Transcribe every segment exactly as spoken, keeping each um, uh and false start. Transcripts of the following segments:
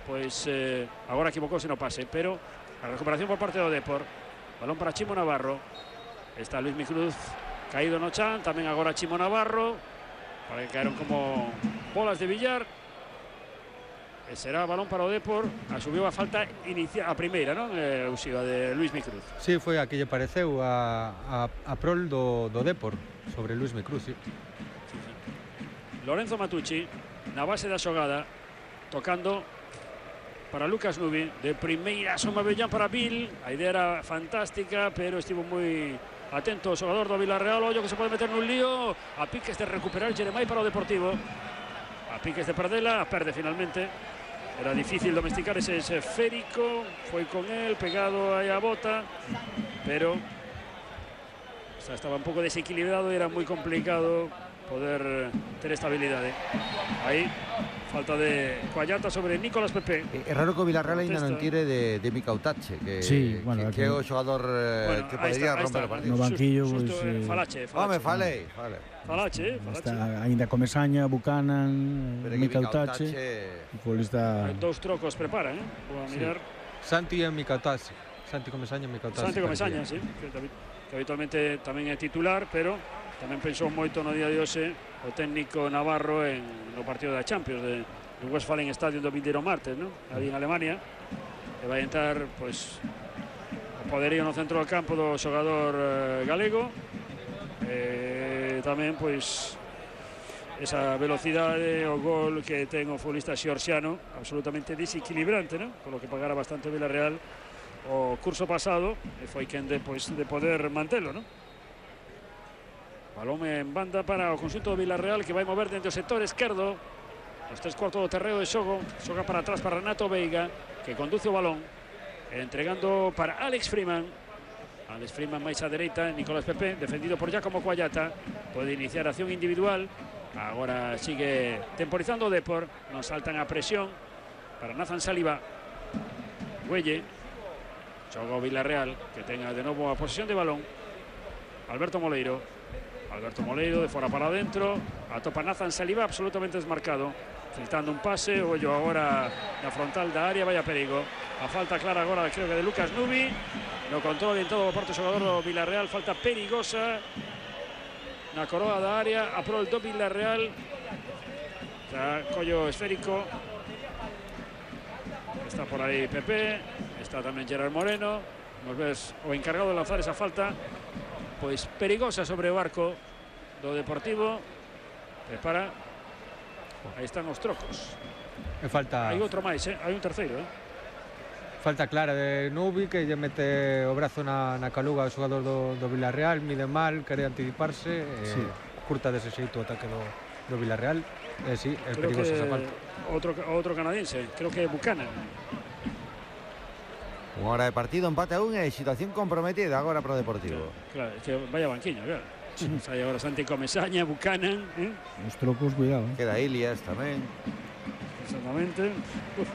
pois eh, agora equivocouse no pase, pero a recuperación por parte do Depor. Balón para Chimo Navarro. Está Luis Micruz caído no chan, tamén agora Chimo Navarro, para que caeron como bolas de billar. E será balón para o Depor. Asumiu a falta inicial, a primeira, non? Eh, Uxiva, de Luis Micruz. Sí, foi a que lle pareceu a, a, a prol do, do Depor sobre Luis Micruz, sí. Sí, sí. Lorenzo Matucci na base da xogada, tocando para Lucas Nubi, de primeira soma Bellán para Bill. A idea era fantástica, pero estivo moi atento o xogador do Villarreal. Ollo que se pode meter nun lío, a piques de recuperar Jeremai para o Deportivo, a piques de perdela, a perde finalmente. Era difícil domesticar ese esférico, foi con él, pegado aí a bota, pero o sea, estaba un pouco desequilibrado e era moi complicado poder ter estabilidade. Aí, falta de Coallata sobre Nicolás Pepe. É raro que o Villarreal ainda non tire de, de Mika Utache, que, sí, bueno, que, que é o xogador eh, bueno, que podería está, romper está, o partido. No banquillo, Susto, pues, eh, eh, Falache, Falache. Home, falei, fale. Falache, Falache. Está ainda Comesaña, Buchanan, Mika Utache. Futbolista. Dous trocos preparan, eh? Vou a mirar. Sí. Santi e Mika Utache. Santi Comesaña e Mika Utache. Santi Comesaña, sí, que, que habitualmente tamén é titular, pero tamén pensou moito no día de hoxe o técnico navarro en no partido da Champions de, de Westfalen Stadium do vindeiro martes, ¿no? Ali en Alemania, e vai entrar pois o poderío no centro do campo do xogador eh, galego, e tamén pois esa velocidade, o gol que ten o futbolista xorxiano, absolutamente desequilibrante, ¿no? Por lo que pagara bastante o Villarreal o curso pasado, e foi quen de, pois, de poder mantelo, ¿no? Balón en banda para o conxunto do Villarreal, que vai mover dentro do sector esquerdo. Os tres cuartos do terreo de xogo. Xoga para atrás para Renato Veiga, que conduce o balón, entregando para Alex Freeman. Alex Freeman máis á dereita, Nicolás Pepe, defendido por Giacomo Coallata. Pode iniciar acción individual. Agora sigue temporizando o Depor. Non saltan a presión para Nathan Saliba. Güelle. Xoga o Villarreal, que tenga de novo a posesión de balón. Alberto Moleiro. Alberto Moleiro de fora para adentro, atopa Nathan Saliba absolutamente desmarcado, filtrando un pase, ollo agora na frontal da área, vaya perigo. A falta clara agora, creo que de Lucas Nubi, no control en todo o parte xogador do Villarreal, falta perigosa na coroa da área, a prol do Villarreal. Está collo esférico, está por aí Pepe, está tamén Gerard Moreno, nos ves o encargado de lanzar esa falta, pois perigosa sobre o arco do Deportivo. Prepara. Aí están os trocos. E falta hai outro máis, eh? Hai un terceiro, eh? Falta clara de Nubi, que lle mete o brazo na, na caluga ao xogador do, do Villarreal, mide mal, quere anticiparse, sí. E curta dese xeito o ataque do, do Villarreal. E sí, é perigosa esa falta. Outro, outro canadiense, creo que é Buchanan. Unha hora de partido, empate a un e situación comprometida agora para o Deportivo. Claro, claro, es que vaya banquiño, claro. Sai agora Santi Comesaña, Buchanan, eh? Os trocos, cuidado, eh? Queda Ilias tamén. Exactamente. Uf.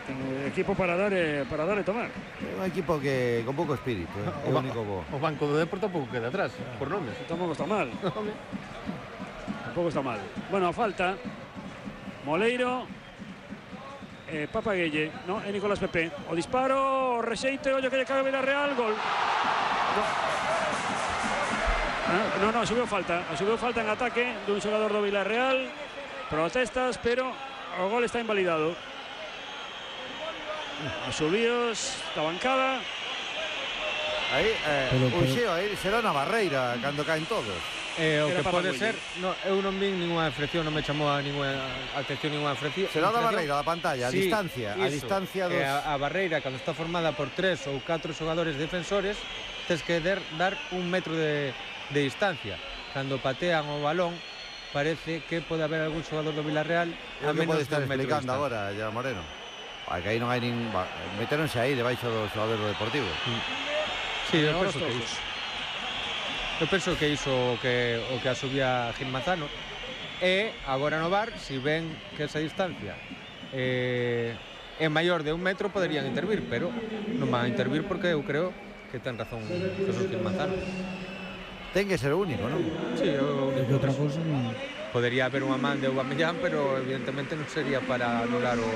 Ten equipo para dar e para dar e tomar. É un equipo que con pouco espírito, eh? É o único bo. O banco do Depor tampouco queda atrás, por nomes. Tampouco está mal. Tampouco está mal. Bueno, a falta Moleiro, eh, Papaguelle, no, é Nicolás Pepe. O disparo, o rexeite, ollo que lle cabe Villarreal, gol. No. No, no, subiu falta, subiu falta en ataque dun xogador do Villarreal. Protestas, pero o gol está invalidado. Os subíos da bancada. Aí, eh, o xeo, aí será na barreira cando caen todos. Eh, o que pode ser, no, eu non vi ninguna infracción, non me chamou a ninguna atención ninguna infracción. Será da barreira da pantalla, a sí, distancia, iso, a distancia dos... A, a barreira, cando está formada por tres ou catro xogadores defensores, tes que der, dar un metro de, de distancia. Cando patean o balón, parece que pode haber algún xogador do Villarreal a menos pode estar de un metro explicando agora, ya Moreno. Que aí non hai nin... Meteronse aí debaixo do xogador do Deportivo. Sí, eu penso que iso. Eu penso que iso o que, o que asubía Gil Manzano. E agora no V A R, si ven que esa distancia eh, é maior de un metro, poderían intervir, pero non van a intervir porque eu creo que ten razón Jesús Gil Manzano. Ten que ser o único, non? Sí, o único. Outra cousa non... Podería haber unha man de Aubameyang, pero evidentemente non sería para anular o